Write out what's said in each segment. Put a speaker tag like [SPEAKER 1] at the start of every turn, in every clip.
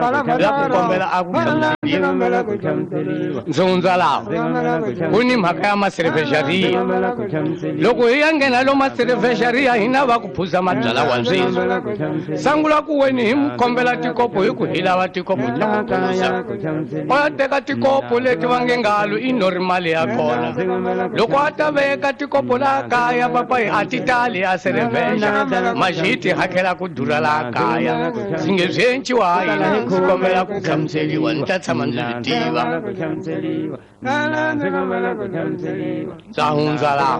[SPEAKER 1] La ku kombela a ku hlamuseliwa. Ndzi hundza laha ku ni mhaka ya maserevhexariya. Loko hi ya nghena lo maserevhexariya hina va ku phuza mabyala wa sweswi. Sangula ku weni hi mu kombela tikopo hi ku hi lava tikopo ta ku phuza. O ya teka tikopo leti va nge ngalo i nori mali ya kona. Loko a ta veka tikopo laha kaya papayi a ti tali a serevhexa. Maxi ti hakela ku durha laha kaya. Ndzi nge swi enciwa yini ndzi kombela ku hlamuseliwa ni ta tshama ndzi swi tiva. Ndza hundza laha.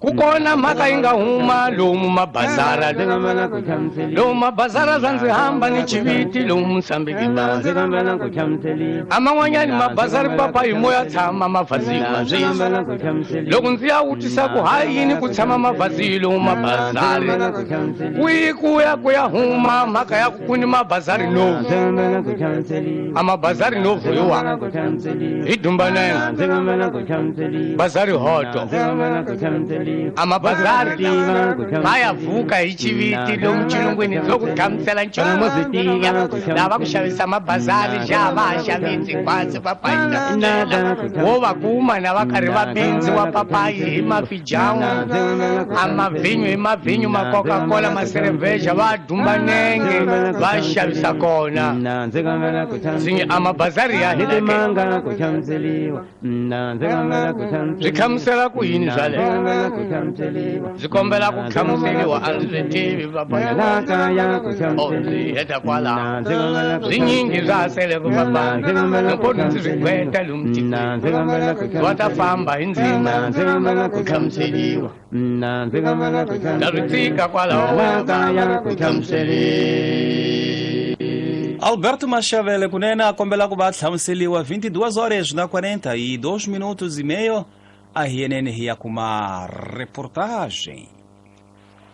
[SPEAKER 1] Ku kona mhaka yi nga huma lomu mabazara lomu mabazara swa ndzi hamba ni chiviti lomu Mosambiki bazi. A man'wanyani mabazari papa hi moya tshama mavhaziwa sweswi. Loko ndzi ya vutisa ku ha yini ku tshama mavhazi lomu mabazari kwihi ku ya ku ya huma mhaka ya ku ku ni mabazari novu. A mabazari novu hi wa hi Dumbaneng bazari hoto. A mabazari ma ya vuka hi chiviti lomu xilungwini byo ku hlamusela nchumu swi tiya. Lava ku xavisa mabazari xa va ha xavisi hinkwaswo papayi ta byela. Wo va kuma na va karhi va bindziwa papayi hi mafijamu a mavhinyu hi mavhinyu ma Coca-Cola ma Cerveja va dumba nenge va xavisa kona. Ndzi nge a mabazari ya hina ke. Swi hlamusela ku yini swaleswo? Ndzi kombela ku hlamuseriwa a ndzi swi tivi papa. Oh, ndzi heta kwalaho. Swinyingi swa ha seleke papa. Loko ndzi swi gqweta lomu tikweni va ta famba hi ndzima ku hlamuseriwa. Ta swi tshika kwalaho ku hlamuseriwa.
[SPEAKER 2] Alberto Mashavele kunene a kombela ku va hlamuseliwa 22 horas na 42 minutos e meio. A hi yenene hi ya kuma reportagem.